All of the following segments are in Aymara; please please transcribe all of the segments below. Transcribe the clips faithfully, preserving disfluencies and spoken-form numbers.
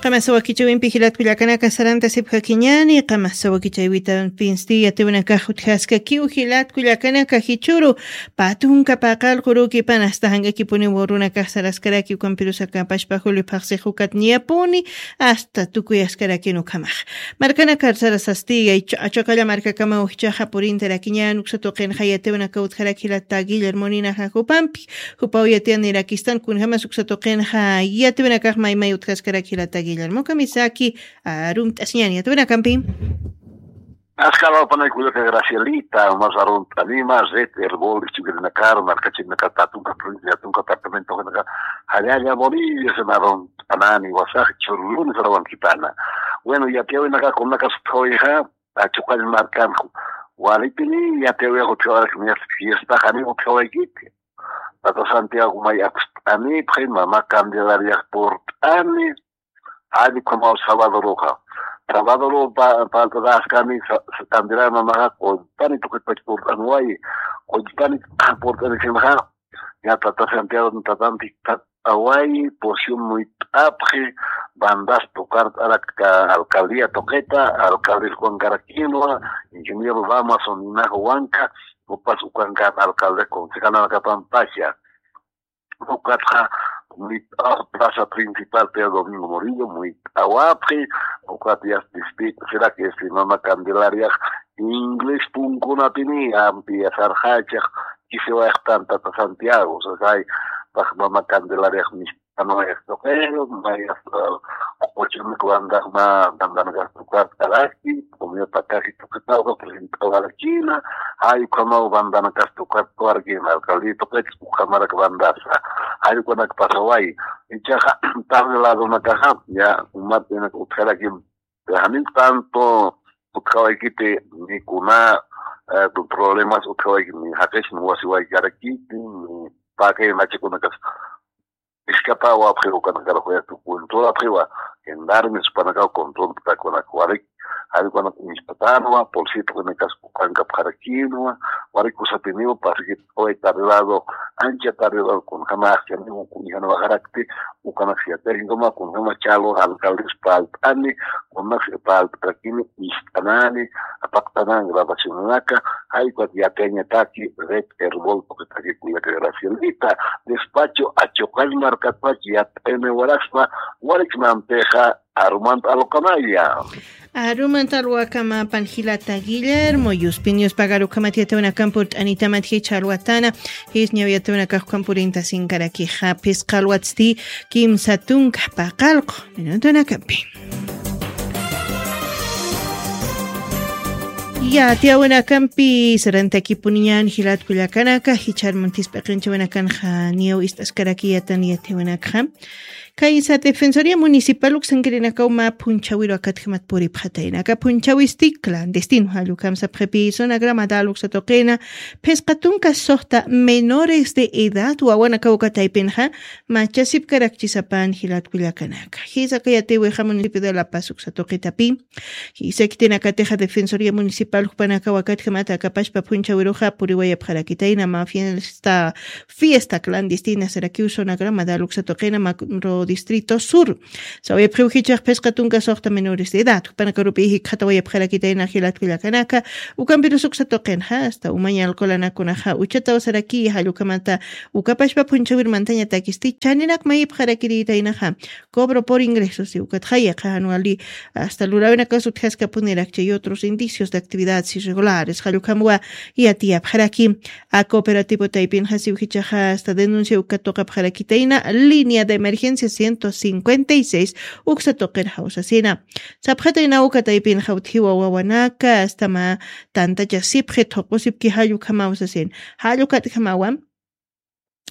Qamasawakichawimpi jilatkullakanaka sarantasipjakiñani qamasawakichawitanpinsti yatiwanakax utjaskakiw jilatkullakanaka jichuru patunka paqalqurukipan asta jank'akipuniw runakax saraskarakiw kampirusakapashpa julio phaqsix ukat niyapuni asta tukuyaskarakinu khamax. Markanakar sarasasti yaychu achakalla markakamaw jichaxa purintarakiñan uksatuqinxa yatiwanaka utjarakilata guillermoninaxa jupampi. Jupaw yatiyan nirakistan kunjamas uksatuqinxa yatiwanakax maymay utjaskarak jilata guillermo kamisaki arumt'asiñan yatiwanakampi. Askar wapanay kullaka gracielita mas arunt'anima red herbol ichukirinakar markachirinakar tatunka provincia tatunka departamentokinaka jallalla bolivia sena arunt'anani wasax churluni sarawankipana. Bueno yatiyawinaka kunaka suthawixa achuqall markanku. Walipini yatiyawixa utjawarak fiestaxani utjawaykiti. Tata santiago may apst'anipxi mama candelariax purt'ani. Jallikumaw sabadoruxa sabadoru palt'ataxkani candelar mamaxa qullpani tuqitpach purt'anwayi. Qullpani purt'anisinxa ña tata santiago tatanpi tat'awayi porción muyt'apxi. Bandas tukart'arak alcaldía tuqita alcaldes juan caraquinwa ingeniero ramason ninax wanka. Upas ukankan alcalde concejalanakapampacha ukatxa muyt'ax plaza principal pedro domingo murillo muyt'awapxi. Ukat yas dispito sirak este mama candelariax inglés punkunapini ampi yasarxachax kisiwayxtan tata santiago sasay pax mama candelariax mist'anwayax tuqero mayas quchunak bandaxma bandanakax tukart'araki comunidad pakaxi tuqitawka present'awarakina. Jay ukhamaw bandanakas tukart'awarakina alcaldia tuqit ukhamarak bandasa jay ukhanak pasaway. Ichaxa tarde ladonakaxa ya umat inak utjarakim. Janin tanto utjawaykiti ni kuna problemas utjawaykiti ni jaqis ni wasiwaykarakiti ni pakay nachakunakas. Iskatawa apxiwa ukanakaraxuyatu control apxiwa gendarmes upanakaw control takunak warik jari ukanak inspatänwa polsita ukanakas ukankapxarakinwa. Warik kusatiniwa pasikit uy tardelado ancha tardelado kunjama axchaniwa kunjana waxarakti. Ukanak siatarinkama kunjama chalo alcaldes palt'ani kunaks palt'arakini ist'anani apaqtanan grabacionanaka. Jaykuat yakañataki red herbol tuqitaki kullaka gracielita despacho achuqall markatpach yat'ayna waraspa. Warikmampixa arumanta alqamaya. Arumanta alwakama panjilata guillermo yuspin yuspagarukamat yatawanakampi urt'anitamat jicha alwatana. Jisñaw yatawinakaxkukan purintasinkarakixapis qalwatsti kimsa tunka paqalqu minutunakampi. Yatiyawinakampi sarantakipuniñan jilatkullakanaka jichar muntispa qinchawinakanxa niyaw ist'askaraki yatan yatiyawinakxa. Kaysa defensoria municipal uksankirinakaw mä phunchawiru akatjamat puripxatayna aka phunchawisti clandestino jallukam sapxipi sonagramadal uksatuqina phisqa tunka suxta menores de edad wawanakaw kataypinxa machasipkarakchisapan jilatkullakanaka. Jisaka yatiwixa municipio de la paz uksatuqitapi. Jisakitinakatixa defensoria municipal jupanakaw akatjamata akapashpa phunchawiruxa puriwayapxarakitayna mä fiesta fiesta clandestina sarakiw sonagramadal uksatuqina macro distrito sur. Sawayapxiw jichax phisqa tunka suxta menores de edad jupanakarupi jikxatawayapxarakitayna jilatkullakanaka. Ukampirus uksatuqinxa asta umaña alcoholanakunaxa uchataw saraki jallukamata ukapashpa phunchawir mantañatakisti chaninak mayipxarakiriytaynaxa. Cobro por ingresos siwkatxa yaqaxan wali asta lurawinakas utjaskapunirakcha y otros indicios de actividades irregulares jallukhamwa. Yatiyapxaraki a cooperativo taypinxa siwjichaxa asta denuncia uka tuqapxarakitayna línea de emergencia ciento cincuenta y seis. Uksa tuqir jawsasina sapxatayna uka taypinxa utjiwa wawanaka astama tantachasipxi thuqusipki jallukhamawsasin. Jallukatkhamawa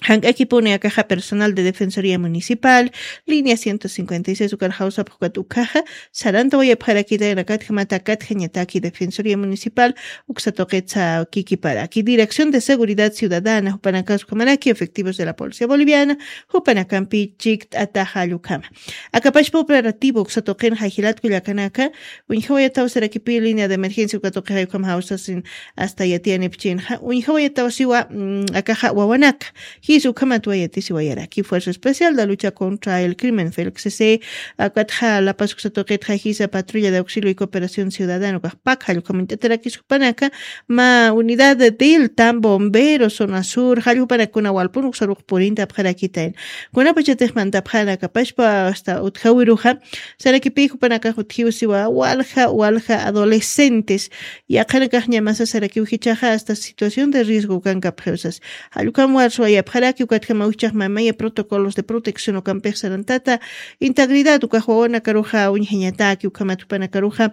jank'akipuni akaxa personal de defensoria municipal línea ciento cincuenta y seis ukar jawsapxukat ukhaxa sarantawayapxarakitayna katjamata katjañataki defensoria municipal. Uksatuqitsa kikiparaki dirección de seguridad ciudadana jupanakas ukhamaraki efectivos de la policía boliviana jupanakampi chikt'ataxa allukhama. Akapashpa operativo uksatuqinxa jilatkullakanaka uñjawayataw sarakipi línea de emergencia ukatuqixayukhama jawsasin asta yatiyanipchinxa uñjawayataw siwa akaxa wawanaka. Jis ukhamat wayatisiwayaraki fuerza especial da lucha contra el crimen felxisi. Akatxa lapasuksa tuqitxa jisa patrulla de auxilio y cooperación ciudadano kaxpak jallukhamintataraki sukupanaka ma unidad de tilta bombero zona sur jallukhupanakuna walpun uksarux purinta apxarakitain. Kunapachatixmanta apxanaka pashpa asta utjawiruxa sarakipi jupanakax utjiwsiwa walja walja adolescentes. Yaqhanakaxñamasa sarakiwjichaxa asta situación de riesgo kankapxiwsas. Jallukam warsuwayapxaraki ukatjamawjichaxmamaya protocolos de protección ukampixsarantata integridad ukaxwawanakaruxa uñjañataki ukamatjupanakaruxa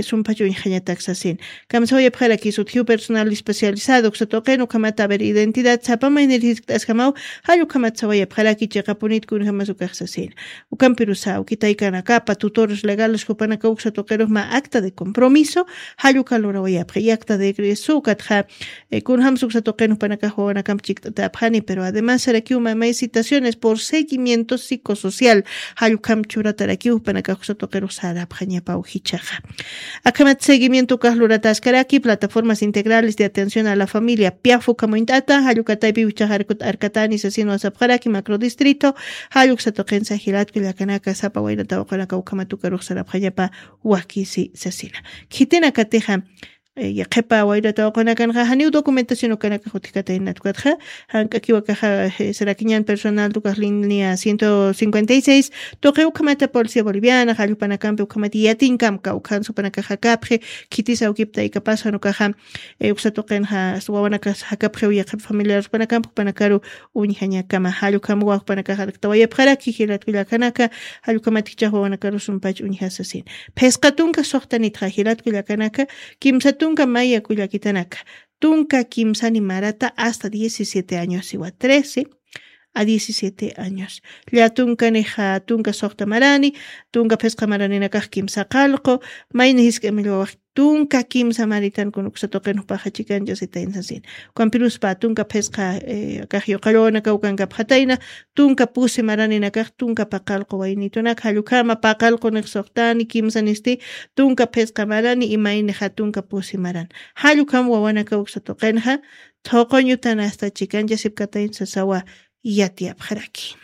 sumpach uñjañataksasin. Kamsawayapxaraki sutjiw personal especializado uksatuqin ukamata aver identidad sapamaynir jiskt'asjamaw. Jallukamatsawayapxaraki chiqapunit kunjamas ukaxsasin. Ukampirusa ukitaykanakapa tutores legales jupanaka uksatuqirux ma acta de compromiso jallukalurawayapxi y acta de egreso ukatxa kunjamsa uksatuqin jupanakax wawanakamp chikt'atapxani pero además sarakiw mamay citaciones por seguimiento psicosocial. Jallukam churatarakiw jupanakax uksatuqirux sarapxañapaw jichaxa. Akhamat seguimiento ukax lurataskaraki plataformas integrales de atención a la familia piafu kamuñt'ata jallukataypi wichaxarkut arkatani sasin wasapxaraki macro distrito. Jalluk satuqinsa jilatku llakanaka sapa waynata waqunaka ukhamatukarux sarapxañapa wakisi sasina. Khitinakatixa yaqhipa wayrata waqanakanxa janiw documentación ukanakax utjkataynat ukatxa jank'akiwakaxa sarakiñan personal tukax línea ciento cincuenta y seis tuqi ukhamata policía boliviana jallupanakampi ukhamata yatinkamka ukhansupanakaxakapxi. Khitisa ukiptaykapasa nukaxa uksatuqinxa wawanakas jakapxiw yaqhip familiaruspanakampi jupanakaru uñjañakama jallukam wawpanakax arktawayapxaraki jilatku llakanaka. Jallukamatikchax wawanakarus sumpach uñjasasin. Phisqa tunka suxtanitxa jilatku llakanaka kimsa tunka maya kullakitanaka tunka kimsani marata asta diecisiete años iwa trece a diecisiete años. Lla tunka nixa tunka suxta marani tunka phisqa maraninakax kimsa qalqu mayni jisk'amillwawax tunka kimsa maritan kunuksa tuqin jupaxa chikanchasitayn sasin. Ukampiruspa tunka phisqa kax yuqallwawanakaw kankapxatayna tunka pusi maraninakax tunka paqalqu waynitunaka jallukama paqalqu nix suxtani kimsa nisti tunka phisqa marani imaynixa tunka pusi maran. Jallukam wawanaka uksa tuqinxa thuquñutan asta chikanchasipkatayn sasawa yatiyapxaraki.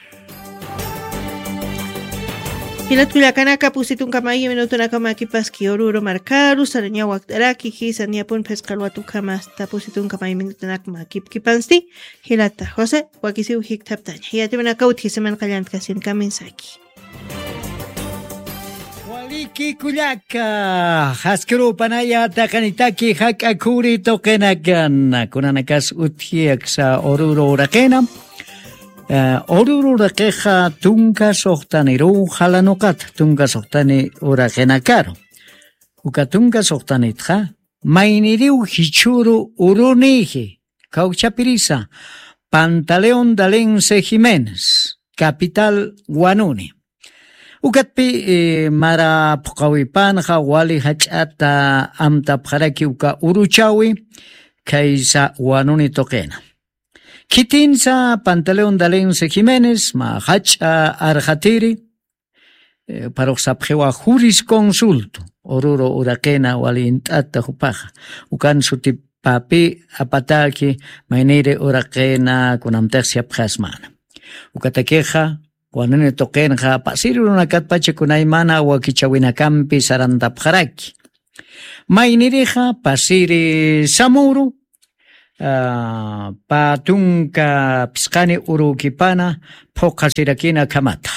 Jilatkullakanaka pusitunkamay minutunakamakipaski ururu markaru sarañaw wakt'araki jisa niyapun phisqalwatukhama asta pusitunkamay minutunakmakipkipansti. Jilata josé wakisiw jikthaptaña yatimanakawtji semanqallantkasini kaminsaki. Waliki kullaka jaskirupanaya taqanitaki jak'akuri tuqinakan kunanakas utji aksa ururu uraqina. Ururu uraqixa tunka suxtaniruw jalanuqata tunka suxtani uraqinakaru uka tunka suxtanitxa mayniriw jichhuru uruniji kawchapirisa pantaleón dalense jiménez capital wanuni. Ukatpi mara phuqawipanxa wali jach'ata amtapxaraki uka uruchawi khaysa wanuni tuqina. Khitinsa pantaleón dalense jiménez mä jach'a arxatiri parux sapxiwa jurisconsulto ururu uraqina wali int'ata jupaxa ukan sutipapi apataki mayniri uraqina kunamtix siyapxasmana. Ukatakixa wanuni tuqinxa pasiri runakatpacha kunaymana wakichawinakampi sarantapxaraki. Maynirixa pasiri samuru pä tunka phisqani urukipana phuqhasirakina akhamata.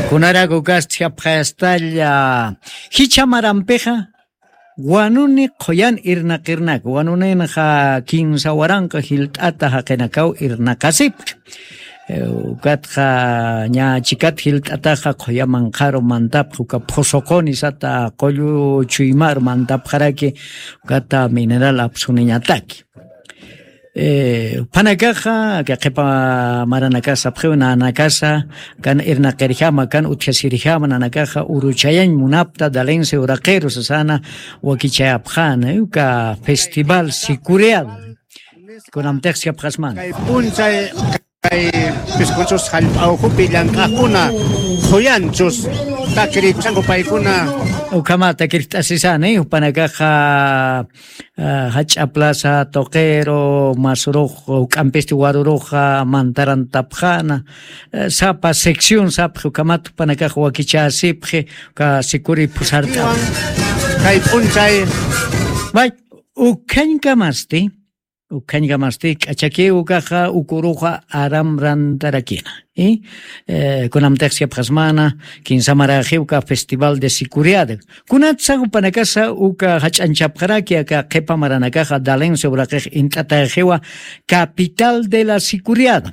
Kunarak ukasti japxayastalla jichha marampixa wanuni qhuyan irnaqirnak wanuninxa kinsa waranqa jilt'ata jaqinakaw irnaqasipki. Ukatxa ña chikat jilt'ataxa qhuya manqharu mantapxi uka phusuquni sata qullu chuymaru mantapxaraki. Ukata mineral apsuniñataki. Phanakaxa kaqhipa maranakasa apxiw nanakasa kan irnaqirjama kan utjasirjama nanakaxa uruchayañ munapta dalense uraqiru sasana wakichayapxana uka festival sicurial. Kunamtix siyapxasmana kay p'unchay kay piskunchus jallp'awjupi llank'aqkuna quyanchus takirikusanku paykuna. Ukhamata kirt'asisani, jupanakaxa jach'a plaza tuqiru masurux juk'ampisti waruruxa mantarantapxana. Sapa sección sapxi ukhamat jupanakax wakichäsipxi uka sikuri phusart'awa. Kay p'unchay. May, ukhañkamasti ukhañkamasti k'achakiw ukaxa ukuruxa aramrantarakina. Kunamtix siyapxasmana kinsa maraxiw uka festival de sicuriada. Kunatsa jupanakasa uka jach'anchapxaraki aka qhipa maranakaxa dalense uraqix int'ataxiwa capital de la sicuriada.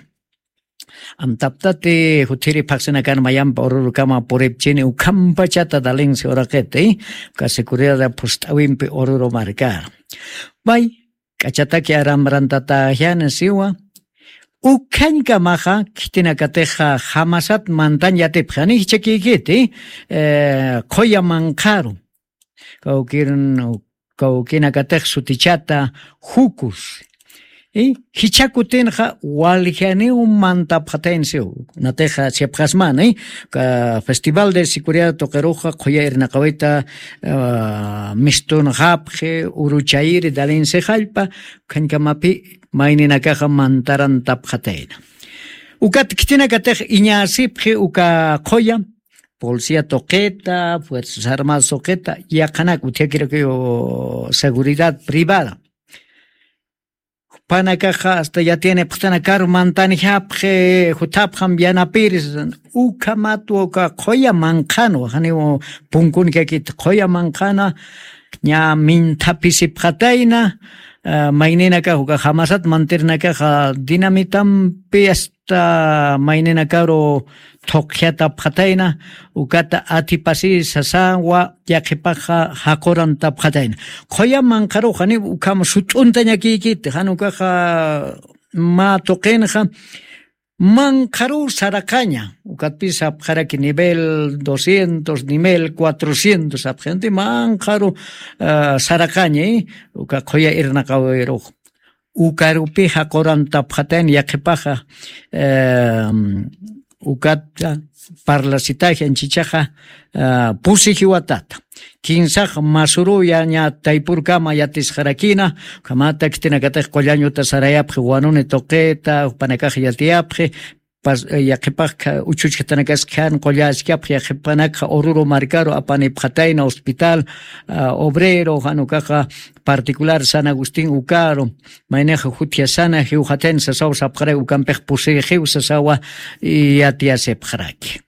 Amtaptati juthiri phaqsinakan mayampi ururukama puripchini ukhampachata dalense uraqiti uka sicuriada phust'awimpi ururu markar. May k'achataki aramrantataxyani siwa. Ukhañkamaxa khitinakatixa jamasat mantañ yatipxani jichhakikiti qhuya manqharu kawkirun kawkinakatix sutichata jukus. Jichhakutinxa waljaniw mantapxatayn siw. Natixa siyapxasmani festival de sicuriada tuqiruxa qhuya irnaqawita mistunxapxi uruchayiri dalinsi jallpa ukhañkamapi mayninakaxa mantarantapxatayna. Ukat khitinakatix iñäsipxi uka qhuya policía tuqita fuerzas armadas tuqita yaqhanak utjakirakiw seguridad privada. Jupanakaxa asta yatiyanipxtanakaru mantanjapxi jutapxam yanapiri sasan. Ukhamatwa uka qhuya manqhanwa janiw punkunkakiti qhuya manqhana ña minthapisipxatayna. Mayninakax uka jamasat mantirnakaxa dinamitampi asta mayninakaru thuqjatapxatayna. Ukata atipasi sasawa yaqhipaxa jaqurantapxatayna. Qhuya manqharuxa janiw ukham sut'untañakikiti jan ukaxa mä tuqinxa manqharuw saraqaña. Ukatpis sapxaraki nivel doscientos nivel cuatrocientos sapxinti manqharu saraqaña. Uka qhuya irnaqawirux ukarupi jaqurantapxatayn yaqhipaxa. Ukata parlasitaji anchichaxa pusi jiwatata kinsax masuruya ña taypurkama yatisxarakina. Ukhamata khitinakatix qullañuta sarayapxi wanuni tuqita jupanakax yatiyapxi yaqhipax uchuchkatanakas khan qulläskapx yaqhipanakxa ururu markaru apanipxatayna hospital obrero jan ukaxa particular san agustín ukaru maynixa jutjasana jiwxatayna sasaw sapxaraki ukampix pusixiw sasawa yatiyasipxaraki.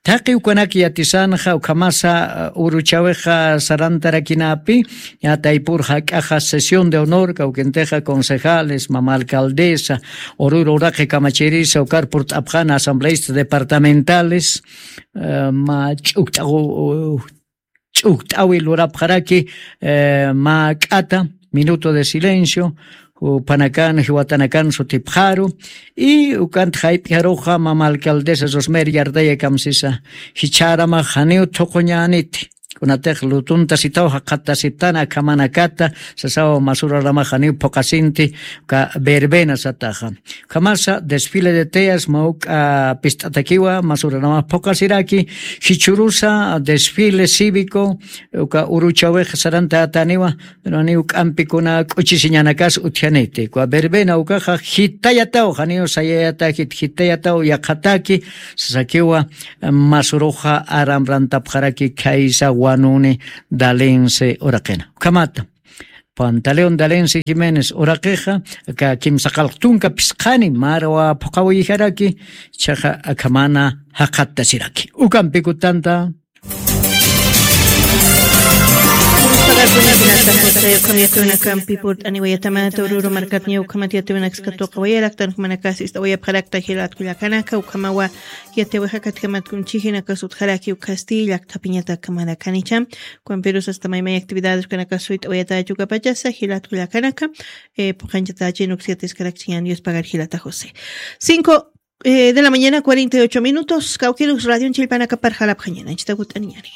Thaqi ukanak yatisanxa ukhamasa uruchawixa sarantarakinapi ña taypur jak'axa sesión de honor kawkintixa concejales mama alcaldesa ururu uraqi kamachirisa ukar purt'apxana asambleístas departamentales mä ch'ukt'aw ch'ukt'awi lurapxaraki mä k'ata minuto de silencio jupanakan jiwatanakan sutipxaru. Y ukant jayp'ijaruxa mama alcaldesa rosmer yardaya kamsisa jichharamax janiw thuquñäniti kunatix lutuntasitaw jaqhatasiptana akhamanakata sasaw masuraramax janiw phuqasinti uka verbena sataxa. Ukhamasa desfile de teas mawk'a pist'atakiwa masuraramax phuqasiraki jichhurusa desfile cívico uka uruchawix sarantataniwa. Pero janiw k'ampikuna k'uchisiñanakas utjaniti uka verbena ukaxa jitayataw janiw sayayatakit jitayataw yaqhataki sasakiwa masuruxa aramrantapxaraki khaysa wanuni dalense uraqina ukhamata pantaleón dalense jiménez uraqixa aka kimsa qalq tunka phisqhani marwa phuqhawiyijaraki ichaxa akhamana jaqhattasiraki ukampikutanta. Pagarkunata josayukham yatawinakampi purt'aniwayatamata ururu markatña ukhamat yatawinakskatuqa wayaraktan jumanakasi ist'awayapxarakta jilatkullakanaka ukhamawa yatiwijakatkamatkunchijinakas utjaraki ukhasti llakthapiñatakamanakancha. Ukampirusa asta maymay actividades ukanakasuyt'awayatachu ukapachasa jilatkullakanaka. Phuqanchatächin uksiyatiskarakchiñan dios pagar jilata josé. Cinco de la mañana cuarenta y ocho minutos kawkirus radion chillpanakapar jalapxañan anchita gut'aniñani.